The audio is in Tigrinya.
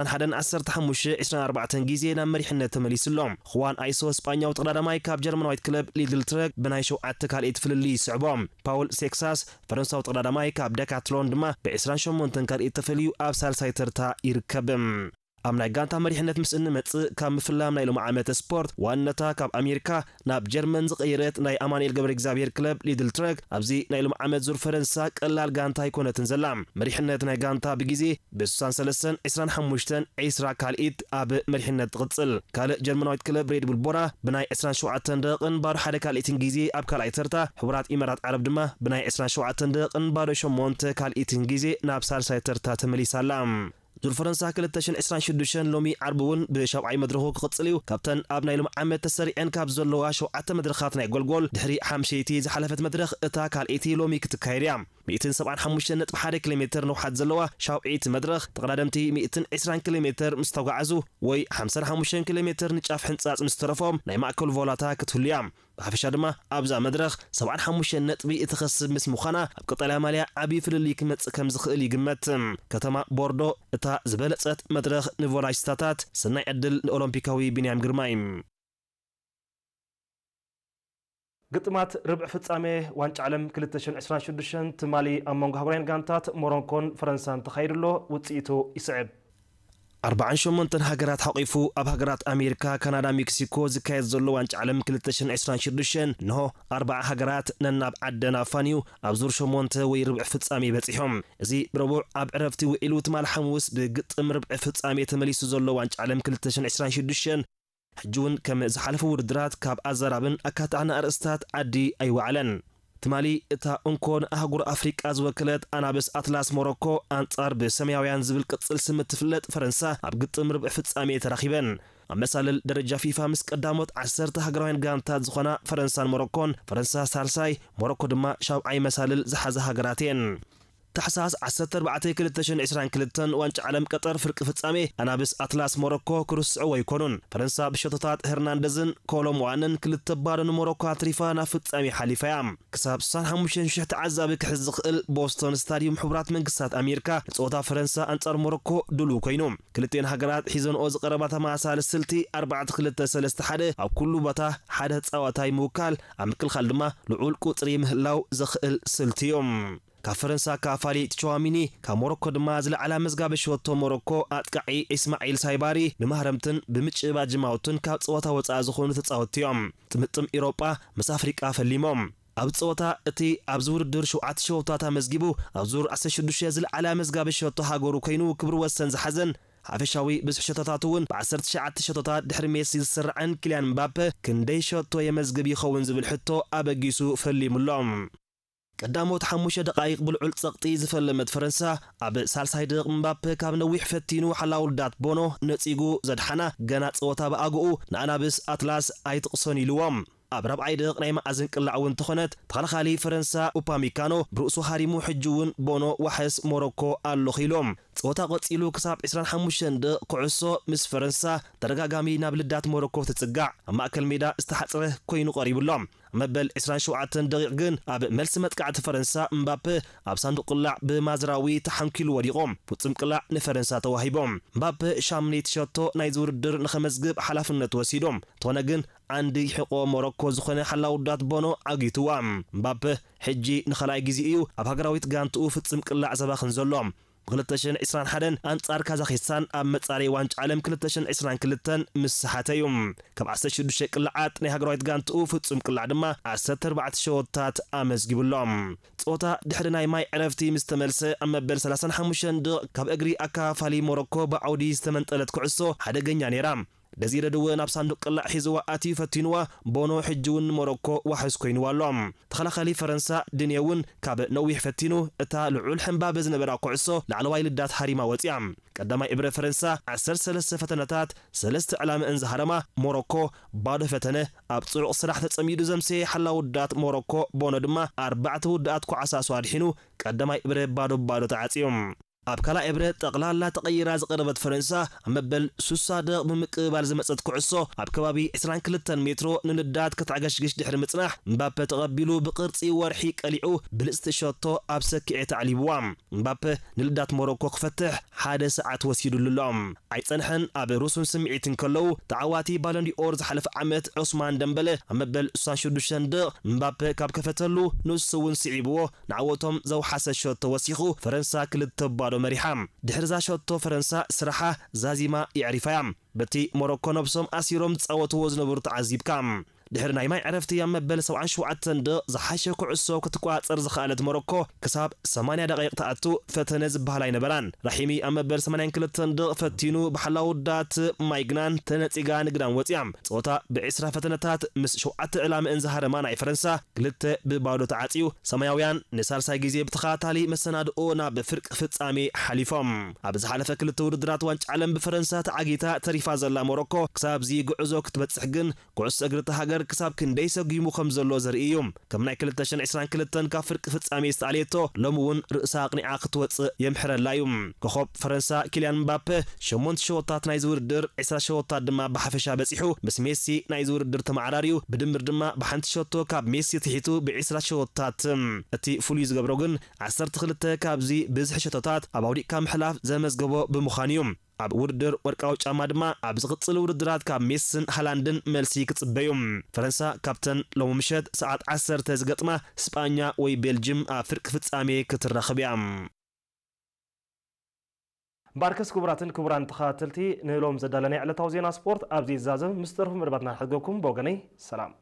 ዕስራን ሓደን ዓሰርተ ሓሙሽተ ዕስራን ኣርባዕተን ግዜ ናብ መሪሕነት ተመሊሱ ኣሎ። ኹዋን ኣይሶ ስጳኛዊ ተቐዳዳማይ ካብ ጀርመናዊት ክለብ ሊድል ትረግ ብናይ ሸውዓተ ካልኢት ፍልልይ ይስዕቦ። ፓውል ሴክሳስ ፈረንሳዊ ተቐዳዳማይ ካብ ደካትሎን ድማ ብ ዕስራን ሸሞንተን ካልኢት ተፈልዩ ኣብ ሳልሳይ ተርታ ይርከብ። ኣብ ናይ ጋንታ መሪሕነት ምስ እንመጽእ፣ ካብ ምፍላም ናይ ሎሚ ዓመት ስፖርት ዋንነታ ካብ ኣሜሪካ ናብ ጀርመን ዝቐየረት ናይ ኣማኑኤል ገብረ እግዚኣብሔር ክለብ ሊድል ትረግ፣ ኣብዚ ናይ ሎሚ ዓመት ዙር ፈረንሳ ቀላል ጋንታ ኣይኮነትን ዘላ። መሪሕነት ናይ ጋንታ ብግዜ ብ ስሳን ሰለስተን፣ ዕስራን ሓሙሽተን፣ ዕስራ ካልኢት ኣብ መሪሕነት ትቕጽል። ካልእ ጀርመናዊት ክለብ ሬድ ቡል ቦራ ብናይ ዕስራን ሸውዓተን ደቂቕን ባዶ ሓደ ካልኢትን ግዜ ኣብ ካልኣይ ተርታ፣ ሕቡራት ኢማራት ዓረብ ድማ ብናይ ዕስራን ሸውዓተን ደቂቕን ባዶ ሸሞንተ ካልኢትን ግዜ ናብ ሳልሳይ ተርታ ተመሊሳ ኣላ። ዙር ፈረንሳ ክልተ ሽሕን ዕስራን ሽዱሽተን ሎሚ ዓርቢ እውን ብሻብዓይ መድረኹ ክቕጽል እዩ። ካብተን ኣብ ናይ ሎም ዓመት ተሰሪዐን ካብ ዘለዋ ሸውዓተ መድረኻት ናይ ጎልጎል ድሕሪ ሓምሸይቲ ዝሓለፈት መድረኽ እታ ካልኣይቲ ሎሚ ክትካየድ እያ። ሚእትን ሰብዓን ሓሙሽተን ነጥቢ ሓደ ኪሎ ሜትር ንውሓት ዘለዋ ሻብዓይቲ መድረኽ ተቐዳደምቲ ሚእትን ዕስራን ኪሎ ሜትር ምስ ተጓዓዙ ወይ ሓምሳን ሓሙሽተን ኪሎ ሜትር ንጫፍ ሕንጻጽ ምስ ተረፎም ናይ ማእከሉ ቮላታ ክትህሉ እያ። ብሓፈሻ ድማ ኣብዛ መድረኽ ሰብዓን ሓሙሽተን ነጥቢ እትኸስብ ምስ ምዃና ኣብ ቀጠልያ ማልያ ዓቢ ፍልልይ ክመጽእ ከም ዝኽእል ይግመት። ከተማ ቦርዶ እታ ዝበለጸት መድረኽ ንቮላይስታታት። ሰናይ ዕድል ንኦሎምፒካዊ ቢንያም ግርማይ። ግጥማት ርብዒ ፍጻሜ ዋንጫ ዓለም ክልተ ሽሕን ዕስራን ሽዱሽተን ትማሊ ኣብ መንጎ ኣህጉራውያን ጋንታት ሞሮኮን ፈረንሳን ተኻይዱ ኣሎ። ውጽኢቱ ይስዕብ። ኣርባዓን ሸሞንተን ሃገራት ሓቒፉ ኣብ ሃገራት ኣሜሪካ፣ ካናዳ፣ ሜክሲኮ ዝካየድ ዘሎ ዋንጫ ዓለም ክልተ ሽሕን ዕስራን ሽዱሽተን እንሆ ኣርባዓ ሃገራት ነናብ ዓደን ኣፋንዩ ኣብ ዙር ሸሞንተ ወይ ርብዒ ፍጻሜ በጺሖም። እዚ ብረቡዕ ኣብ ዕረፍቲ ውዒሉ ትማል ሓሙስ ብግጥም ርብዒ ፍጻሜ ተመሊሱ ዘሎ ዋንጫ ዓለም ክልተ ሽሕን ዕስራን ሽዱሽተን ሕጂ እውን ከም ዝሓለፉ ውድድራት ካብ ኣዘራብን ኣካታዕን ኣርእስታት ዓዲ ኣይወዓለን። ትማሊ እታ እንኮ ንኣህጉር ኣፍሪቃ ዝወከለት ኣናብስ ኣትላስ ሞሮኮ ኣንጻር ብሰማያውያን ዝብል ቅጽል ስም እትፍለጥ ፈረንሳ ኣብ ግጥም ርብዒ ፍጻሜ ተራኺበን። ኣብ መሳልል ደረጃ ፊፋ ምስ ቀዳሞት ዓሰርተ ሃገራውያን ጋንታት ዝኾና ፈረንሳን ሞሮኮን፣ ፈረንሳ ሳልሳይ፣ ሞሮኮ ድማ ሻብዓይ መሳልል ዝሓዛ ሃገራት እየን። ታሕሳስ ዓሰርተ ኣርባዕተ ክልተ ሽሕን ዕስራን ክልተን ዋንጫ ዓለም ቀጠር ፍርቂ ፍጻሜ ኣናብስ ኣትላስ ሞሮኮ ክርስዕዎ ኣይኮኑን። ፈረንሳ ብሸቶታት ሄርናንደዝን ኮሎምዋንን ክልተ ባዶ ንሞሮኮ ኣትሪፋ ናብ ፍጻሜ ሓሊፋ እያ። ክሳብ ስሳን ሓሙሽተን ሽሕ ተዓዛቢ ክሕዝ ዝኽእል ቦስቶን ስታድዩም ሕቡራት መንግስታት ኣሜሪካ ንጸወታ ፈረንሳ ኣንጻር ሞሮኮ ድሉው ኮይኑ። ክልቲኤን ሃገራት ሒዘንኦ ዝቐረባ ተመሳሳሊ ስልቲ ኣርባዕተ ክልተ ሰለስተ ሓደ ኣብ ኩሉ ቦታ ሓደ ተጻዋታይ ምውካል፣ ኣብ ምክልኻል ድማ ልዑል ቁጽሪ ምህላው ዘኽእል ስልቲ እዩ። ካብ ፈረንሳ ካፋሊ ቸዋሚኒ፣ ካብ ሞሮኮ ድማ ዝለዓላ መዝጋቢ ሸቶ ሞሮኮ ኣጥቃዒ ኢስማዒል ሳይባሪ ብማህረምትን ብምጭባጅማውትን ካብ ጸወታ ወጻኢ ዝኾኑ ተጻወትቲ እዮም። ጥምጥም ኢሮጳ ምስ ኣፍሪቃ ፈሊሞም። ኣብ ጸወታ እቲ ኣብዚ ውድድር ሸውዓተ ሸቶታት ኣመዝጊቡ ኣብ ዙር ዓሰርተ ሽዱሽተ ዝለዓላ መዝጋቢ ሸቶ ሃገሩ ኮይኑ ክብሪ ወሰን ዝሓዘን ሓፈሻዊ ብዝሒ ሸቶታት እውን ብ ዓሰርተ ትሽዓተ ሸቶታት ድሕሪ ሜሲ ዝስራዕን ኪልያን ምባፔ ክንደይ ሸቶ የመዝግብ ይኸውን ዝብል ሕቶ ኣበጊሱ ፈሊሙሎም። ቀዳሞት ሓሙሽተ ደቓይቕ ብልዑል ጸቕጢ ዝፈለመት ፈረንሳ፣ ኣብ ሳልሳይ ደቕ ምባፔ ካብ ነዊሕ ፈቲኑ ሓላው ልዳት ቦኖ ነጺጉ ዘድሓና ገና ጸወታ ብኣግኡ ንኣናብስ ኣትላስ ኣይትቕሶን ኢልዎም። ኣብ ራብዓይ ደቕ ናይ መኣዝን ቅላዕ እውን ተኾነት ተኸላኻሊ ፈረንሳ ኡፓሚካኖ ብርእሱ ሃሪሙ ሕጂ እውን ቦኖ ዋሕስ ሞሮኮ ኣለኹ ኢሎም። ጸወታ ቀጺሉ ክሳብ ዕስራን ሓሙሽተን ደቕ ኩዕሶ ምስ ፈረንሳ ተደጋጋሚ ናብ ልዳት ሞሮኮ ትጽጋዕ ኣብ ማእከል ሜዳ ዝተሓጽረ ኮይኑ ቀሪቡ ኣሎ። መበል ዕስራን ሸውዓተን ደቂቕ ግን ኣብ መልሲ መጥቃዕቲ ፈረንሳ እምባፔ ኣብ ሳንዱቕ ቅላዕ ብማዝራዊ ተሓንኪሉ ወዲቑ። ፍጹም ቅላዕ ንፈረንሳ ተዋሂቦ። እምባፔ ሻምነይቲ ሸቶ ናይዚ ውድድር ንኸመዝግብ ሓላፍነት ወሲዱ። እንተኾነ ግን ዓንዲ ሕቖ ሞሮኮ ዝኾነ ሓላው ዳት ቦኖ ዓጊትዋ። እምባፔ ሕጂ ንኻልኣይ ግዜ እዩ ኣብ ሃገራዊት ጋንትኡ ፍጹም ቅላዕ ዘባኽን ዘሎ። ብ ክልተ ሽሕን ዕስራን ሓደን ኣንጻር ካዛኺስታን ኣብ መጻረዪ ዋንጫ ዓለም ክልተ ሽሕን ዕስራን ክልተን ምስ ሰሓተ እዩ። ካብ ዓሰርተ ሽዱሽተ ቅላዓት ናይ ሃገራዊት ጋንትኡ ፍጹም ቅላዕ ድማ ዓሰርተ ኣርባዕተ ሸወታት ኣመዝጊቡ ኣሎ። ጸወታ ድሕሪ ናይ ማይ ዕረፍቲ ምስ ተመልሰ ኣብ መበል ሰላሳን ሓሙሽተን ደቕ ካብ እግሪ ኣካፋሊ ሞሮኮ ብዓውዲ ዝተመንጠለት ኩዕሶ ሓደገኛ ነይራ። ደዚረ ድወ ናብ ሳንዱቕ ቅላዕ ሒዝዋ ኣትዩ ፈቲንዋ፣ ቦኖ ሕጂ እውን ንሞሮኮ ዋሕስ ኮይንዋ ኣሎ። ተኸላኻሊ ፈረንሳ ድኔ እውን ካብ ነዊሕ ፈቲኑ እታ ልዑል ሕምባበ ዝነበራ ኩዕሶ ላዕለዋይ ልዳት ሃሪማ ወፂኣ። ቀዳማይ እብረ ፈረንሳ ዓሰርተ ሰለስተ ፈተነታት ሰለስተ ዕላምአን ዝሃረማ ሞሮኮ ባዶ ፈተነ ኣብ ጽዑቕ ስራሕ ተጸሚዱ ዘምሰየ ሓላው ውዳት ሞሮኮ ቦኖ ድማ ኣርባዕተ ውዳኣት ኩዓሳሱ ኣድሒኑ ቀዳማይ እብረ ባዶ ባዶ ተዓጽዩ። ኣብ ካልኣይ እብረ ጠቕላላ ተቐይራ ዝቐረበት ፈረንሳ፣ ኣብ መበል ሱሳ ደቕ ብምቅብባል ዝመጸት ኩዕሶ፣ ኣብ ከባቢ ዕስራን ክልተን ሜትሮ ንልዳት ከተዕገሽግሽ ድሕሪ ምጽናሕ፣ እምባፔ ተቐቢሉ ብቕርጺ ወርሒ ቀሊዑ ብልጽቲ ሸቶ ኣብ ሰኪዔት ኣዕሊብዋ። እምባፔ ንልዳት ሞሮኮ ክፈትሕ ሓደ ሰዓት ወሲዱሉ ኣሎ። ኣይጸንሐን፣ ኣብ ሩሱን ስምዒት እንከለዉ፣ ተዓዋቲ ባሎን ዲኦር ዝሓለፈ ዓመት ዑስማን ደምበለ ኣብ መበል ሱሳን ሽዱሽተን ደቕ እምባፔ ካብ ከፈተሉ፣ ንሱ እውን ስዒብዎ ንዓወቶም ዘውሓሰ ሸቶ ወሲኹ፣ ፈረንሳ ክልተ ባዶ መሪሓ። ድሕሪ እዛ ሸቶ ፈረንሳ ስራሓ ዛዚማ የዕሪፋያ። በቲ ሞሮኮ ነብሶም ኣሲሮም ዝጻወትዎ ዝነበሩ ተዓዚብካ። ድሕሪ ናይ ማይ ዕረፍቲ ኣብ መበል ሰብዓን ሸውዓተን ደቕ ዝሓሸ ኩዕሶ ክትቆጻጸር ዝኸኣለት ሞሮኮ ክሳብ ሰማንያ ደቂቕ ትኣቱ ፈተነ ዝበሃል ኣይነበራን። ራሒሚ ኣብ መበል ሰማንያን ክልተን ደቕ ፈቲኑ ብሓላው ዳት ማይግናን ተነጺጋ ንግዳም ወጺኣ። ጸወታ ብዕስራ ፈተነታት ምስ ሸውዓተ ዕላምእን ዝሃረማ ናይ ፈረንሳ ክልተ ብባዶ ተዓጽዩ። ሰማያውያን ንሳልሳይ ግዜ ብተኸታታሊ መሰናድኦ ናብ ፍርቂ ፍጻሜ ሓሊፎም። ኣብ ዝሓለፈ ክልተ ውድድራት ዋንጫ ዓለም ብፈረንሳ ተዓጊታ ተሪፋ ዘላ ሞሮኮ ክሳብዚ ጉዕዞ ክትበጽሕ ግን ኩዕሶ እግሪ እታ ሃገር ክሳብ ክንደይ ሰጒሙ ከም ዘሎ ዘርኢ እዩ። ከም ናይ ክልተ ሽሕን ዕስራን ክልተን ካብ ፍርቂ ፍጻሜ ዝተኣልየቶ ሎሚ እውን ርእሳ ኣቕኒዓ ክትወጽእ የምሕረላ እዩ። ኮኾብ ፈረንሳ ኪልያን ምባፔ ሸሞንተ ሸወታት ናይዚ ውድድር፣ ዕስራ ሸወታት ድማ ብሓፈሻ በጺሑ ምስ ሜሲ ናይዚ ውድድር ተመዓራርዩ። ብድምር ድማ ብሓንቲ ሸቶ ካብ ሜሲ ትሒቱ ብዕስራ ሸወታት። እቲ ፍሉይ ዝገብሮ ግን ዓሰርተ ክልተ ካብዚ ብዝሒ ሸቶታት ኣብ ኣውዲቕካ ምሕላፍ ዘመዝገቦ ብምዃኑ እዩ። ኣብ ውድድር ወርቃዊ ጫማ ድማ ኣብ ዝቕጽል ውድድራት ካብ ሜስን ሃላንድን መልሲ ክጽበዩ። ፈረንሳ ካብተን ሎሚ ምሸት ሰዓት ዓሰርተ ዝገጥማ ስጳኛ ወይ ቤልጅም ኣብ ፍርቂ ፍጻሜ ክትራኸብ እያ። እምበኣርከስ ክቡራትን ክቡራን ተኸታተልቲ፣ ንሎም ዘዳለናይ ዕለታዊ ዜና ስፖርት ኣብዚ ይዛዘም። ምስ ተረፉ መደባትና ንሕድገኩም። ብወገነይ ሰላም።